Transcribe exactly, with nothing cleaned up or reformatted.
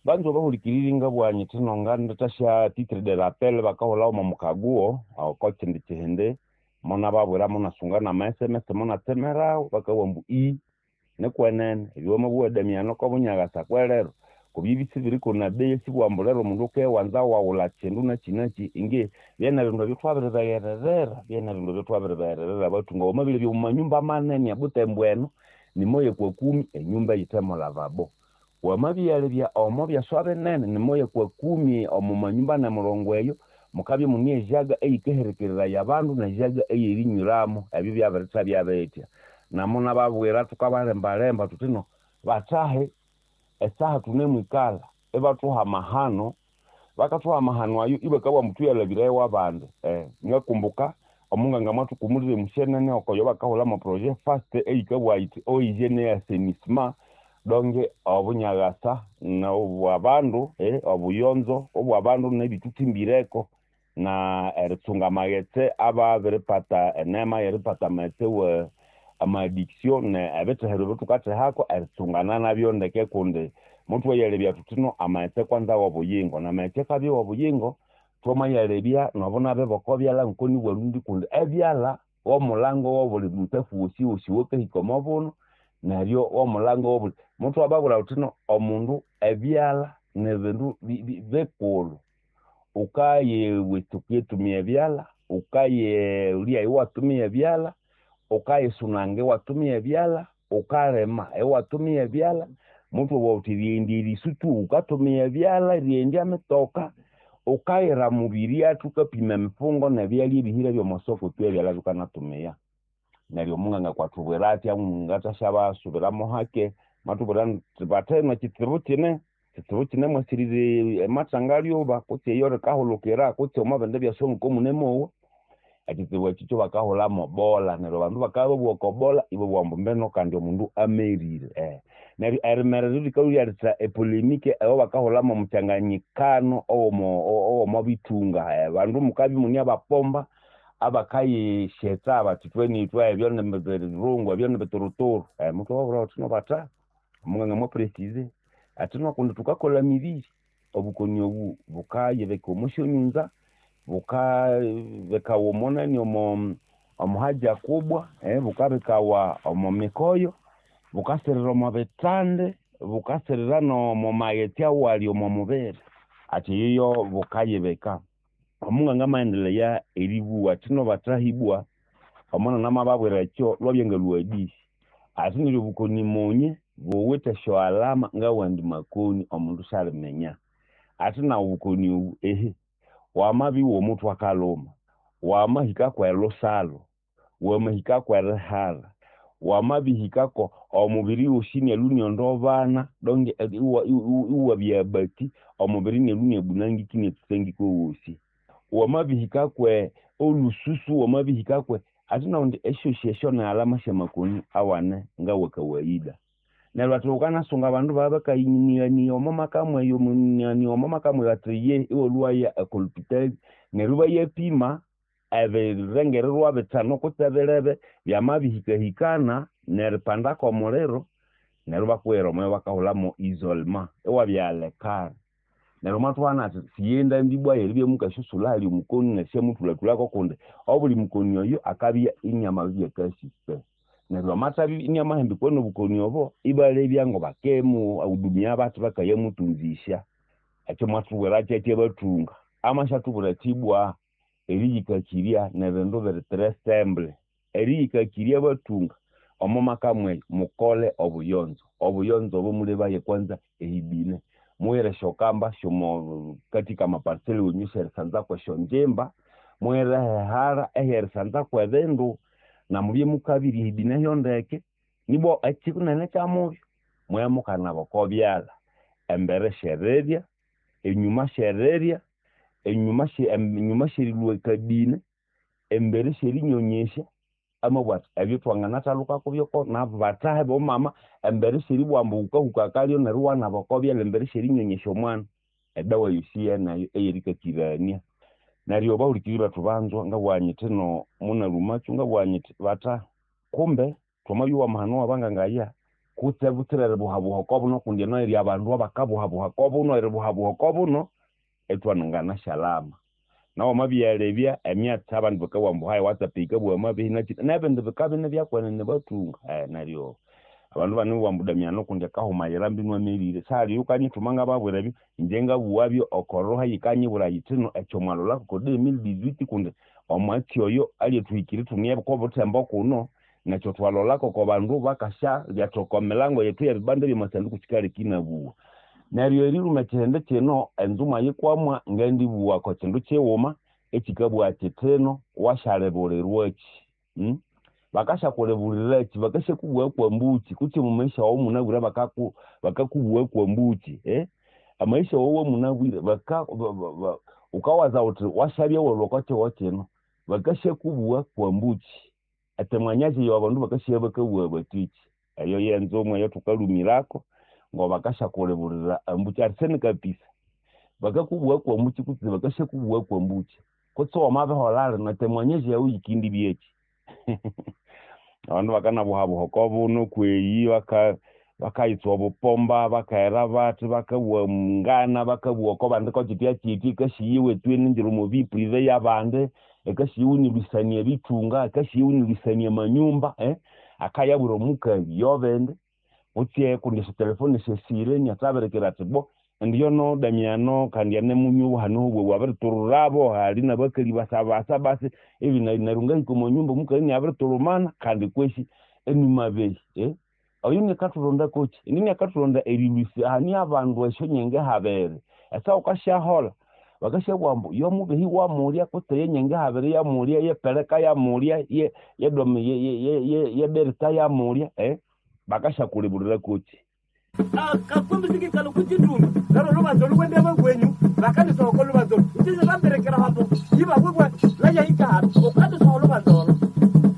Banza bahulikiriri ngabugha nyithi nongandithasya titre de rappel bakahulhawo omo mukaguo oko kindi kihindi monababwira monasunga nama S M S monatsemerawo bakabugha ambu ii nikwenene ebyo wamabugha Damiano oko bunyakasa kwerero kubya isibiriko na bei sibugha ambu lero omundu akewanza waghulha kindu nakyi nakyi inge byene bindu ebyo thwabiribeghererera byene bindu ebyo thwabiribeghererera abathunga wamabilhabya omwa manyumba manene e Butembo eno nimoya kwa kumi enyumba eyithe mo lavabo. Wamabyalebya omo byaswa binene nimoya kwa kumi omo manyumba anemurongo eyo mukabya imune ejaga eyikaherekereraya abandu nejaga eyerinywiramo ebyo byabirithabya bitya. Namunababwira thukabalembalemba thuthi no bathahe esaha thunemwikalha ibathuha amahano bakathuha amahano ayo ibakabugha ambu thuyalhabirayo abandi eh ngakumbuka omunganga mwathukumulira emusyenene okoyo bakahulha mo projet fast eyikabugha yithi eau hygiène et assainissement donc obunyaghasa nobwabandu eh obuyonzo obwabandu nebithuthimbireko na eritsunga amaghetse ababiripata enema yeripata amaghetse wa ama addiction ne ebithehero ebithukathehako eritsungana nabyo ndeke kundi muthwayalebya thuthi no amaghetse kwanza wobuyingo namaghetse akabya wobuyingo thwamayalebya nobunabi bwoko byalha ngoko nibwarundi kundi ebyalha womulango wobuli mutsafu wosiwosi owakahika omo buno neryo womulango wobuli muthwababwira thuthi no omundu ebyalha nibindu bikulhu wukayiwitsuka eritumia ebyalha wukayilya iwatumia ebyalha wukayisunanga iwatumia ebyalha wukalima iwatumia ebyalha muthwabugha thuthi erighendya erisu tu wukatumia ebyalha erighendya emitoka wukayira mubirya wukapima emifungo nebyalya ebihire byomwa soko tu ebyalha bikanatumia neryo omunganga kwathubwira athya ngathasyabasubiramo hake mwathubwira athi batheno ekitsibu kine ekitsibu kine mwasirire amathanga lyoba kutse eyo rikahulukira kutse omo bindi byaswa ngoko munemowa ekitsibu ekyo kyabakahulha bola neryo abandu bakabya babugha oko bola ibabugha ambu mbeno kandi omundu amerire eh neryo erimerera likalhwa lyaletha epolemike eyabakahulha omukyanganyikano owomo owomo bithunga abandu mukabya imune abapomba abakayisyetsa bathi ithwe ebyo nibirungu ebyo nibituruturu muthwababwira thuthi no batha omunganga mwa preciser athi no kundi thukakolha emibiri obukoni obu bukayibika omo syonyunza bukabikawa omo nani omo omo haja kubwa bukabikawa omo mikoyo bukasirira omo bithandi bukasirira nomo maghetse awali omo mubiri athi eyoyo bukayibika. Omunganga amaendelea eribugha athi no bathahibwa omunene amababwira ekyo lwabya ngalhwa hadisi athi neryo obukoni munye buwithe esyo alama ngawandi makoni omundu syaliminya athi naghu obukoni obu ehe wamabya iwomuthwe akalhuma wamahika kwelusalhu wamahika kwerihara wamabihikako omubiri wosi inalhwa iniondobana donc iwabya abati omubiri inalhwa iniabunangika iniatsutsangika owosi wamabihika kwe olhususu wamabihika kwe athi nakundi esyosi esyo ni alama syamakoni awane ngawa kawaida neryo athi wukanasunga abandu babya bakayinighania omo maka mweyo omo maka mweyo athi iye iwalhwaya oko lhupitali neryo ibayapima ebirengererwa bithanu kutse bilebe byamabihikahikana neripanda kwomuliro neryo ibakughera omo bakahulhamo isolement iwabya alekare neryo mwathuhana athi siyendambi ibwa yeribya mukasyasulha ahali omukoni nerisyamuthulhathulhako kundi obuli mukoni oyo akabya iniamabibya cas suspect neryo amathabya iniamahambikwa nobukoni obo ibalebya ngobakemuhudumia bathi bakayamutunzisya ekyo mwathubwira kyathi abathunga amasyathubwira athi ibwa eriyikakirya nibindu biri très simple eriyikakirya abathunga omo maka mweyo mukole obuyonzo obuyonzo obo mulebaye kwanza ehibine mughire esyokamba syomo katika amaparcelle wenyu syerisanzako esyonjimba mughire ehehara ehyerisanzako ebindu namubye mukabirya ehibine hyondeke nibwa ekyinene kyamubyo mubye mukanaba oko byalha embere syerirya enyuma syerirya enyuma enyuma syerilhwa akabine embere syerinyonyesya amabugha athi ebyo thwanganathalhuka kubyo nabathahe bomama embere syeribugha ambu wukahuka akalyo neryo iwanaba oko byalha embere syerinyonyesya omwana edawa yosi yeneyo eyerikakirania neryo bahulikiriri bethu banzwa ngabugha nyithi no munalhumakyo ngabugha nyithi batha kumbe thwamabya amahano wabanganga aya. Kutse butsira eribuhabuha okobuno kundi eno eri abandu abakabuhabuha kobuno eribuhabuha okobuno etwanungana shalama. Nawe wamabyalebya emyatsi abandu bakabugha ambu hayi WhatsApp yikabugha amabehi nakyi nebindi bikabya inibyakwene bathunga neryo abandu ibanimubugha ambu Damiano kundi akahumayira mbinu amerire. Sihali oyukanyithuma ngababwira ebyo, ingye ngabughabyo okoroha yikanyibwira yithino ekyo mwalholako oko deux mille dix-huit kundi omwatsi oyo alyathuhikira ithune kobuthembo kuno nekyo twalholako oko bandu bakasyalyatha oko milango yethu y'ebibanda by'amasanduku kyikaleka inabugha. Neryo eriluma ekyihindi kino enzuma yikwamwa ngendibugha oko kindu kighuma ekyikabugha kyithino wasyalibulirwakyi hmm? Bakasyakulibuliraki bakasyakubugha kwambukyi kutse omu maisha wawu munabwire bakaku bakakubugha kwambukyi eh? Amaisha wawu wamunabwire baka wukawaza wuthi wasyabya walhwa oko kihugho kino bakasyakubugha kwambukyi etemwanyazi eyo abandu bakasya bakabugha bathiki eyo yenzumwa eyathukalhumirako ngobakasyakulibulira ambukyi arsene kapisa bakakubugha kwambukyi kutse bakasyakubugha kwambukyi kutse wamabiholha lino etemwanyazi yawu yikindibya abandu bakanabuhabuha okobuno kweyi baka bakayitsuwa obupomba bakaghera bathi bakabugha ngana bakabugha oko bandi kokyitya kyitya ikasiyiwa ithwe omo vie privée y'abandi ikasiyiwa inilwisania ebithunga ikasiyiwa inilwisania amanyumba eh? Akayabwira omukali yobindi kutse kundi esyotelefone syesire inathabirikira athi bo indi yono Damiano kandi anemunywa obuhano obwo abiritururabo hali nabakali basabasa basi ebi neryo ngahika omo nyumba omukali iniabiritulumana kandi kwesi enimabehi eh? Oyo niakathulonda kokyi indi niakathulonda erilwisya ahani abandu esyonyenge habiri esa wukasyaholha bakasyabugha ambu yomubehi wamulya kutse yenyenge habiri yamulya yepeleka yamulya ye yedomi ye delta yamulya eh? Bakasyakulibulira kokyi akakumbisiki kalo kuchituma lero lubanzo lukwende bagwenyu bakani